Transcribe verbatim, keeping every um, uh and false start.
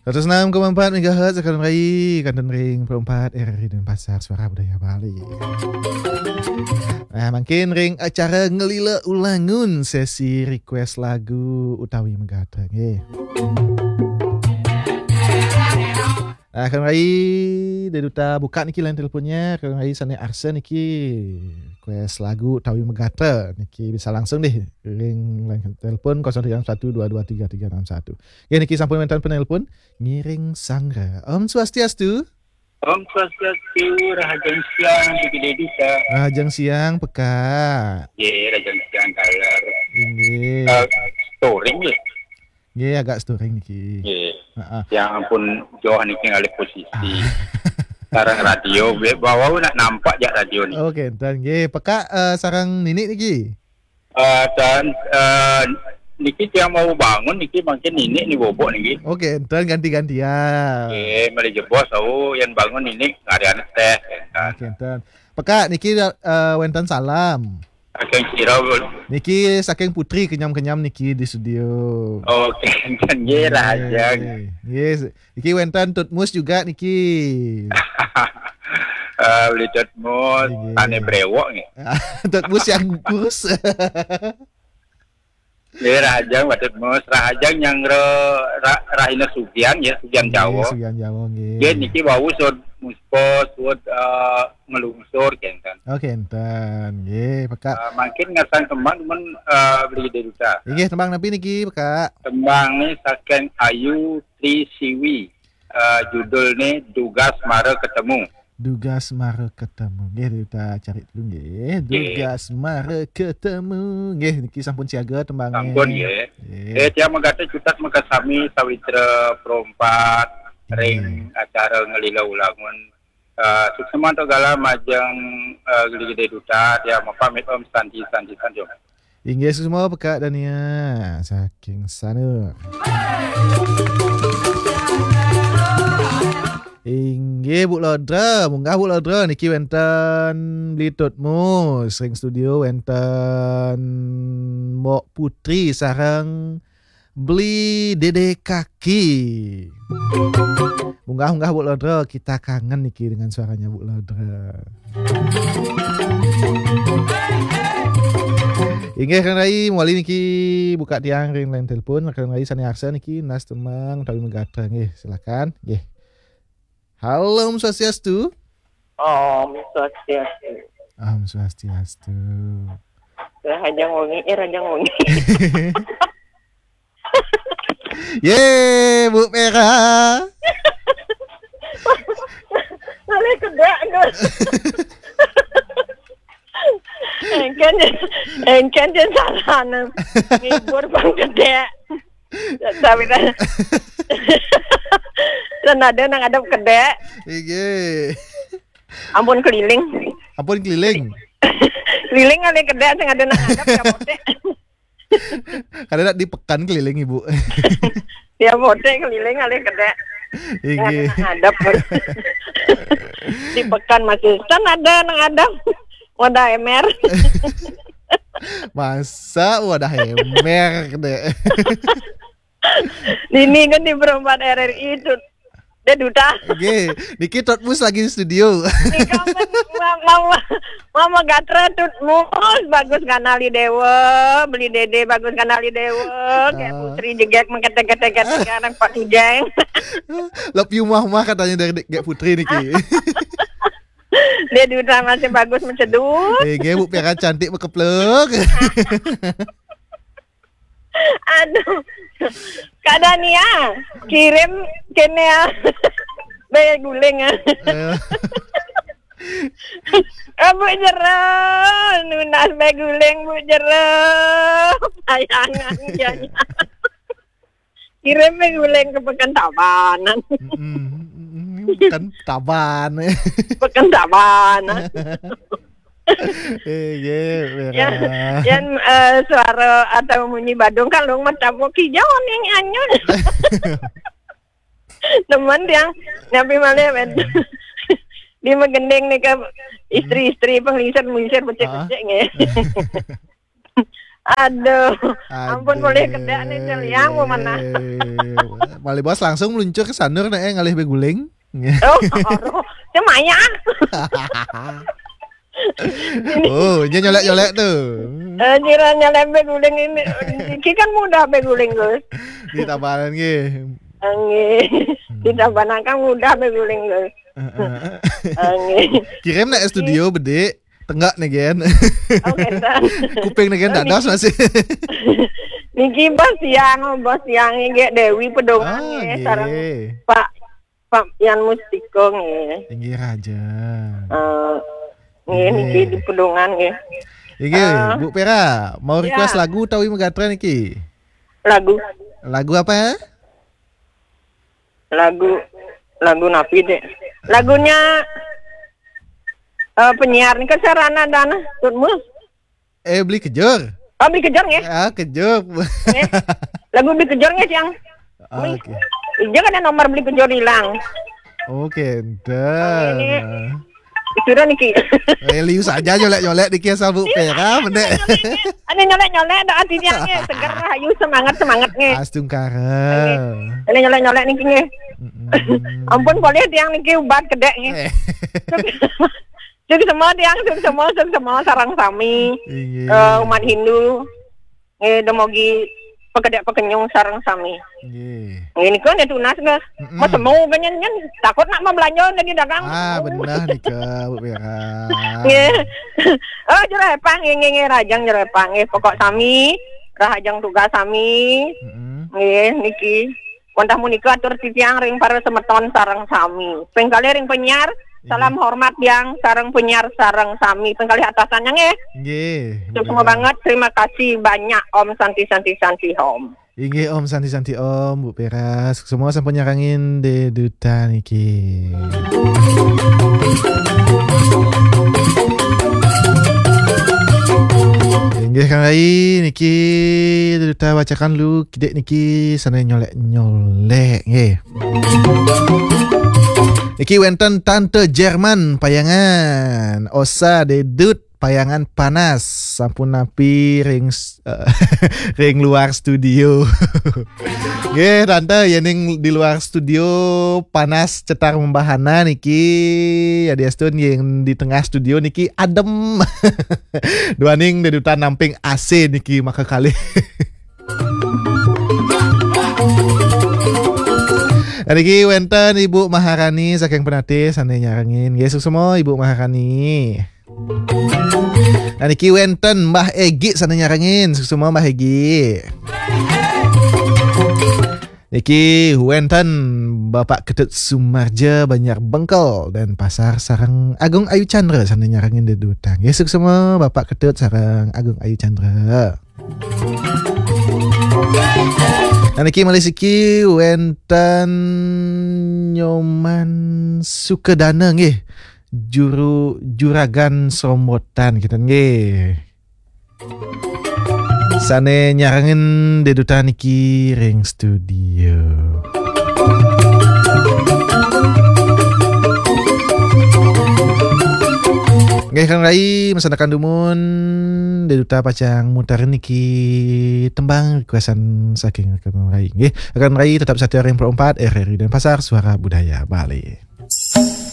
Seratus enam koma empat megahertz, Kak Rai, kantun ring Pro empat R R I Denpasar, Suara Budaya Bali. Nah, mangkin ring acara Ngelila Ulangun, sesi request lagu utawi magatra, nggih. Nah, Kak Rai, Dé Duta buka niki line teleponnya, Kak Rai sané arsa niki request lagu utawi magatra, niki bisa langsung deh ring line telepon kosong tiga enam satu dua dua tiga tiga enam satu. Ya, niki sampun wénten penelpon ngiring sanggra. Om Swastiastu. Om Swastiastu, rahajeng siang, Dé Duta. Rahajeng siang, Pekak. Ye, rahajeng siang, Kaler. Inggih. Eh, storing, ya? Nggih, agak storing niki. Nggih. Heeh. Ya ampun, jauh niki ngalih posisi. Ah. Sareng radio, be-, bawa nak nampak jak radio niki. Oke, enten nggih. Pekak, eh, sareng Nini niki. Eh, dan, eh, niki tiang mau bangun niki mangkin Nini ni bobok niki. Oke, enten ganti-gantian. Nggih, malih jebos, au, yang bangun Nini ngarian teh, enten. Oke, enten. Pekak niki, eh, wénten salam. Saking sira, Bun? Niki saking Putri kenyam-kenyam niki di studio. Oke, enten nggih, rahajeng. Nggih. Nggih, niki wénten Tutmus juga niki. Eh, beli Tutmus, nggih. Tane brewok nggih. Tutmus yang kurus. Nggih, rahajeng, Pak Tutmus. Rahajeng yang re-, ra-, rahina sugian ya, sugian Nggih, Jawa. Sugian Jawa, nggih. Nggih, niki wau suud muspa, suud, eh, ngelungsur, kenten. Oh, kenten. Nggih, Pekak. Eh, mangkin ngasang kembang, men, eh, beli Dé Duta. Inggih, tembang napi niki, Pekak? Tembang ni saking Ayu Tri Siwi. Eh, judul ni Dugas Mara Ketemu. Dugas Mara Ketemu. Nggih, kita cari dulu nggih. Nggih. Dugas Mara Ketemu. Nggih, niki sampun siaga tembangnya. Sampun, nggih. Nggih. Eh, tiang magatra cutet makasami sawitra Pro empat ring acara Ngelila Ulangun. Eh, suksma antuk galah majeng, eh, Gede Duta, tiang mapamit, Om Santi, Santi, Santi, Om. Inggih, suksma Pekak Dania saking Sanur. Inggih, Bu Lodra, munggah Bu Lodra, niki wénten Beli Tutmus ring studio, wénten Mbok Putri sareng Beli Dede Kaki. Munggah-munggah Bu Lodra, kita kangen niki dengan suaranya Bu Lodra. Inggih, Kak Rai, mawali niki buka tiang ring line telepon, Kak Rai sané arsa niki nunas tembang utawi magatra nggih, silakan. Nggih. Halo, Om Swastiastu. Om Swastiastu. Om Swastiastu. Rahajeng wengi, eh, rahajeng wengi. Ye, Bu Pera. Malih kedék, Gus. Éngkén, éngkén jén sarana. Ngibur pang kedék. Sawitra. Sing ada nang ngadep kedék. Inggih. Ampun keliling. Ampun keliling. Keliling ngalih kedék sing ada nang ngadep ya, Potek. Kadang nak di pekan keliling, Ibu. Ya, Potek keliling ngalih kedék. Inggih. Nang ngadep. Di pekan masih kan ada nang ngadep. Wadah émér. Masa wadah émér, kedék. Dini kan di Pro empat R R I itu. Dia duta. Nggih, niki Tutmus lagi di studio. Nika men ma-, mama, mama gatra Tutmus bagus nganali Déwa, Beli Dede bagus nganali Déwa, kayak Putri jegek mengketek-ketek anak Pak Tujeng. Love you mah-mah katanya dari Dek Putri niki. Dia duta masih bagus mencedut. Eh, nggih, Bu Pera cantik bekeplek. Aduh. Kak Dania, kirim kéné ya. Bé guling ah. Eh. Eh, Bu Jero, nunas bé guling, Bu Jero. Payangan ya. Kirim bé guling ke Pekan Tabanan. Mm-mm. Pekan Taban. Pekan Tabanan. Eh, nggih, Pera. Yan, yan, eh, suara atau munyi badung kalung mah tabuh kijau ning anyun. Temen tiang nyampi malih, men. Di magending nika istri-istri panglingsir-panglingsir becik-becik nggih. Aduh, ampun, boleh kedék nih, Cel, yang mau mana? Malih bos langsung meluncur ke sanur, nek ngalih beguling. Oh, aduh, cemaya. Oh, dia nyolek-nyolek tuh. Eh, kira nyolek beguling ini. Iki kan mudah beguling, Gus. Di tabanan nggih. Nggih. Di tabanan kan mudah beguling, Gus. Heeh. Nggih. Kirim nek studio bedik, tenggak nih, Gen. Oh, ngeten. Kuping nih, Gen, dados masih. Niki bos yang, bos yang nggih Dewi Pedongan. Ah, nggih, nggih. Sareng Pak, Pak Yan Mustiko nggih. Inggih raja. Eh, nggih, nggih, niki di Pedongan nggih. Inggih, eh, Bu Pera, mau request, ya, lagu utawi megatra niki? Lagu. Lagu apa ya? Lagu, lagu napi, Dek? Lagunya, eh, penyiar nih, Sarana Dana, Tutmus. Eh, Beli Kejur. Oh, Beli Kejur nggih? Ah, Kejur. Nggih. Lagu Beli Kejur nggih, Siang. Oke. Iya kan ada nomor Beli Kejur hilang. Oke, nggih. Sudah niki. Eh, liu saja nyolek-nyolek niki asal Bu Pera, mendek. Ada nyolek-nyolek, ada artinya nggih. Seger, rahayu, semangat, semangat nggih. Astungkara. Nggih. Ada nyolek-nyolek niki nggih. Mm-mm. Ampun, boleh tiang niki ubat kedék nggih. Eh. Sukses semua tiang, sukses semua, sukses semua sareng sami. Inggih. Eh, umat Hindu. Nggih, demogi pekedék pekenyung sareng sami. Nggih. Nggih, niku nggih tunas nggih. Mm-mm. Mas mau penyanyian takut nak membelanja lagi dagang. Ah, benar nika, Bu Pera. Nggih. Oh, jerepang nggih, nggih, nggih, rahajeng jerepang nggih. Pokok sami, rahajeng tugas sami. Mm-mm. Nggih, niki. Wantah menika atur titiang ring para semeton sareng sami. Ping kalih ring penyiar, salam hormat tiang sareng penyiar sareng sami. Ping kalih atasannya nggih. Nggih, Bu Pera. Sukses banget, terima kasih banyak Om Santi Santi Santi Om. Inggih Om Santi Santi Om, Bu Pera. Sukses semua sampun nyarengin Dé Duta niki. Inggih Kang Rai, niki Dé Duta bacakan lu kidik niki sané nyolek-nyolek nggih. Niki wénten Tante Jerman Payangan, Osa Dé Dut Payangan Panas, sampun napi ring s-, ring luar studio. Nggih, Tante, yéning di luar studio panas cetar membahana niki, yadiastun yén di tengah studio niki adem. Duaning Dé Duta namping A C niki maka kalih. Nah, niki wénten Ibu Maharani saking Penatih sané nyarengin. Nggih, suksma Ibu Maharani. Nah, niki wénten Mbah Egi sané nyarengin. Suksma Mbah Egi. Niki wénten Bapak Ketut Sumarja Banjar Bengkel Denpasar sareng Agung Ayu Chandra sané nyarengin Dé Duta. Nggih, suksma Bapak Ketut sareng Agung Ayu Chandra. Nah, niki malih siki wénten Nyoman Sukadana nggih. Juru, juragan Srombotan kita nggih. Sané nyarengin Dé Duta niki ring studio. Nggih, Kang Rai, masandekan dumun, Dé Duta pacang muter niki tembang requestan saking Kang Rai. Nggih, Kang Rai tetap setia ring empat R R I Denpasar, Suara Budaya Bali.